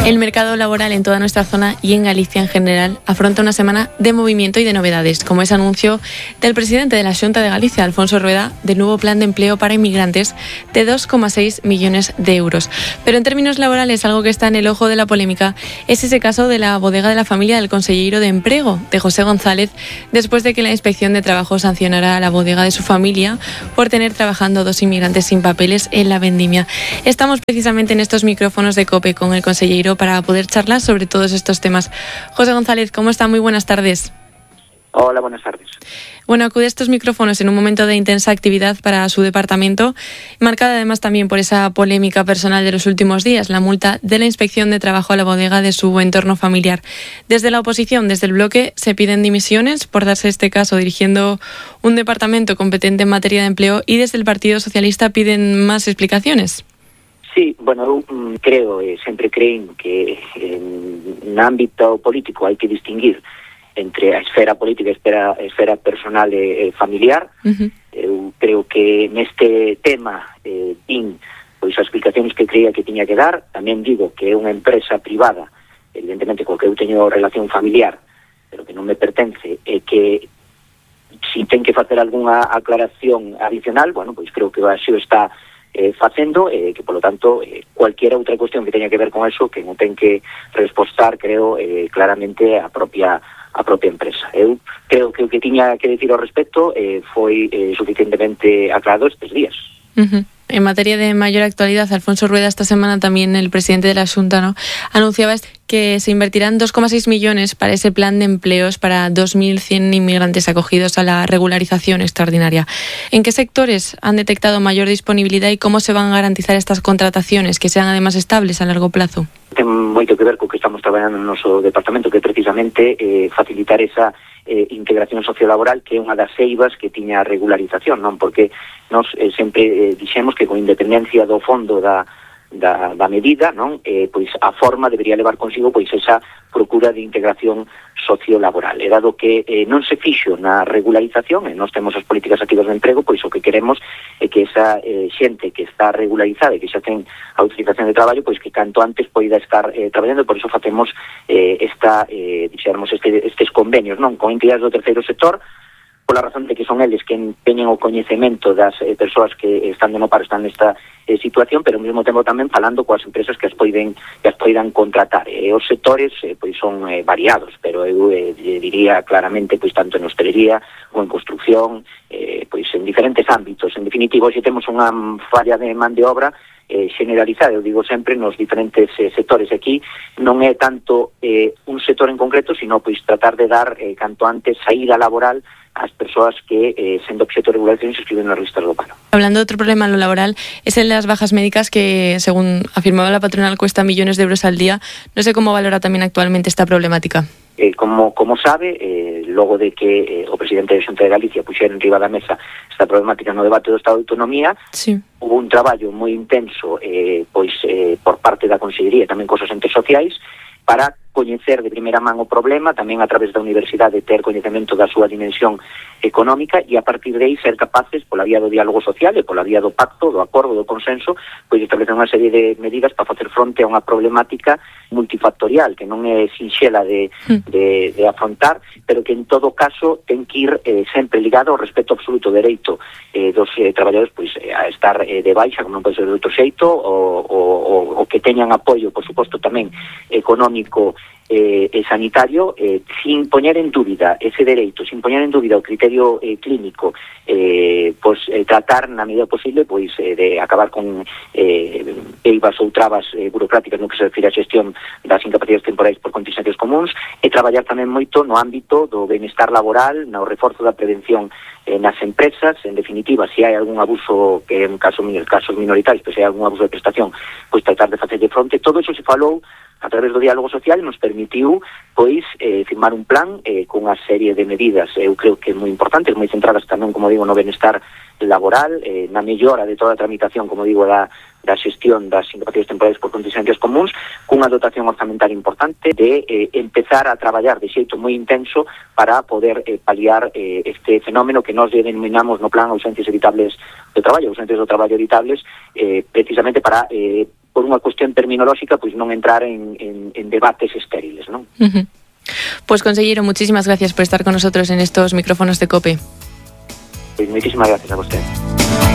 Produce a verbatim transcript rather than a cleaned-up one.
El mercado laboral en toda nuestra zona y en Galicia en general afronta una semana de movimiento y de novedades, como ese anuncio del presidente de la Xunta de Galicia, Alfonso Rueda, del nuevo plan de empleo para inmigrantes de dos coma seis millones de euros. Pero en términos laborales, algo que está en el ojo de la polémica es ese caso de la bodega de la familia del conselleiro de Emprego, de José González, después de que la Inspección de Trabajo sancionara a la bodega de su familia por tener trabajando dos inmigrantes sin papeles en la vendimia. Estamos precisamente en estos micrófonos de COPE con el conselleiro para poder charlar sobre todos estos temas. José González, ¿cómo está? Muy buenas tardes. Hola, buenas tardes. Bueno, acude a estos micrófonos en un momento de intensa actividad para su departamento, marcada además también por esa polémica personal de los últimos días, la multa de la Inspección de Trabajo a la bodega de su entorno familiar. Desde la oposición, desde el bloque, se piden dimisiones por darse este caso dirigiendo un departamento competente en materia de empleo, y desde el Partido Socialista piden más explicaciones. Sí, bueno, eu creo, e sempre creín que en ámbito político hai que distinguir entre a esfera política e a esfera personal e familiar. Uh-huh. Eu creo que neste tema eh, tin pois as explicacións que creía que tiña que dar. Tamén digo que é unha empresa privada, evidentemente co que eu teño relación familiar, pero que non me pertence, e que si ten que facer algunha aclaración adicional, bueno, pois creo que así o está Eh, facendo, eh, que polo tanto eh, cualquier outra cuestión que teña que ver con eso, que non ten que respostar, creo, eh, claramente a propia a propia empresa. Eu creo que o que tiña que decir ao respecto eh, foi eh, suficientemente aclarado estes días. Uh-huh. En materia de mayor actualidad, Alfonso Rueda, esta semana también el presidente de la Xunta, ¿no?, anunciaba que se invertirán dos coma seis millones para ese plan de empleos para dos mil cien inmigrantes acogidos a la regularización extraordinaria. ¿En qué sectores han detectado mayor disponibilidad y cómo se van a garantizar estas contrataciones, que sean además estables a largo plazo? Ten moito que ver co que estamos traballando no noso departamento, que é precisamente eh, facilitar esa eh, integración sociolaboral, que é unha das eivas que tiña a regularización, non? Porque nos eh, sempre eh, dixemos que con independencia do fondo da Da, da medida, non? Eh, pois a forma debería levar consigo pois esa procura de integración sociolaboral. E dado que eh, non se fixo na regularización, e nós temos as políticas activas de emprego, pois o que queremos é que esa eh, xente que está regularizada e que xa ten a utilización de traballo, pois que canto antes poida estar eh, traballando. Por iso facemos eh, esta, eh, dixéramos, este, estes convenios, non? Con entidades do terceiro sector, pola razón de que son eles que teñen o coñecemento das eh, persoas que están de no paro, están nesta eh, situación, pero ao mesmo tempo tamén falando coas empresas que as poiden que as poidan contratar. E os sectores eh, pois son eh, variados, pero eu eh, diría claramente pois tanto en hostelería ou en construcción, eh, pois en diferentes ámbitos. En definitivo, hoxe temos unha falla de man de obra eh, generalizada, eu digo sempre, nos diferentes eh, sectores. Aquí non é tanto eh, un sector en concreto, sino pois tratar de dar eh, canto antes saída laboral as persoas que, eh, sendo obxecto de regulación, se inscriben nas listas do paro. Hablando de otro problema en lo laboral, es el de las bajas médicas, que, según afirmaba la patronal, cuesta millones de euros al día. No sé cómo valora también actualmente esta problemática. Eh, como, como sabe, eh, logo de que eh, o presidente da Xunta de Galicia puxera en riba da mesa esta problemática no debate do Estado de Autonomía, sí, hubo un traballo moi intenso eh, pois eh, por parte da Consellería e tamén cos entes sociais para coñecer de primeira man o problema, tamén a través da universidade ter coñecemento da súa dimensión económica, e a partir de aí ser capaces, pola vía do diálogo social e pola vía do pacto, do acordo, do consenso, pois establecer unha serie de medidas para facer fronte a unha problemática multifactorial que non é sinxela de, de, de afrontar, pero que en todo caso ten que ir eh, sempre ligado ao respeto absoluto do dereito eh, dos eh, traballadores pois eh, a estar eh, de baixa, como non pode ser de outro xeito, o, o, o que teñan apoio, por suposto, tamén económico Eh, e sanitario, eh, sin poñer en dúbida ese dereito, sin poñer en dúbida o criterio eh, clínico, eh, pois eh, tratar na medida posible pois eh, de acabar con eh, eivas ou trabas eh, burocráticas no que se refire a xestión das incapacidades temporais por contingencias comuns, e traballar tamén moito no ámbito do benestar laboral, no reforzo da prevención eh, nas empresas. En definitiva, se hai algún abuso, que en caso, casos minoritarios, pois se hai algún abuso de prestación, pois tratar de facerlle fronte. Todo iso se falou a través do diálogo social, nos permitiu pois eh, firmar un plan eh, con unha serie de medidas, eu creo que moi importantes, moi centradas tamén, como digo, no benestar laboral, eh, na mellora de toda a tramitación, como digo, da, da xestión das incapacidades temporais por contingencias comuns, cunha dotación orzamental importante de eh, empezar a traballar de xeito moi intenso para poder eh, paliar eh, este fenómeno que nós denominamos no plan ausencias evitables do traballo, ausentes do traballo evitables, eh, precisamente para eh, por unha cuestión terminolóxica, pois non entrar en, en, en debates estériles, non? Uh-huh. Pues, consejero, muchísimas gracias por estar con nosotros en estos micrófonos de COPE. Pues muchísimas gracias a usted.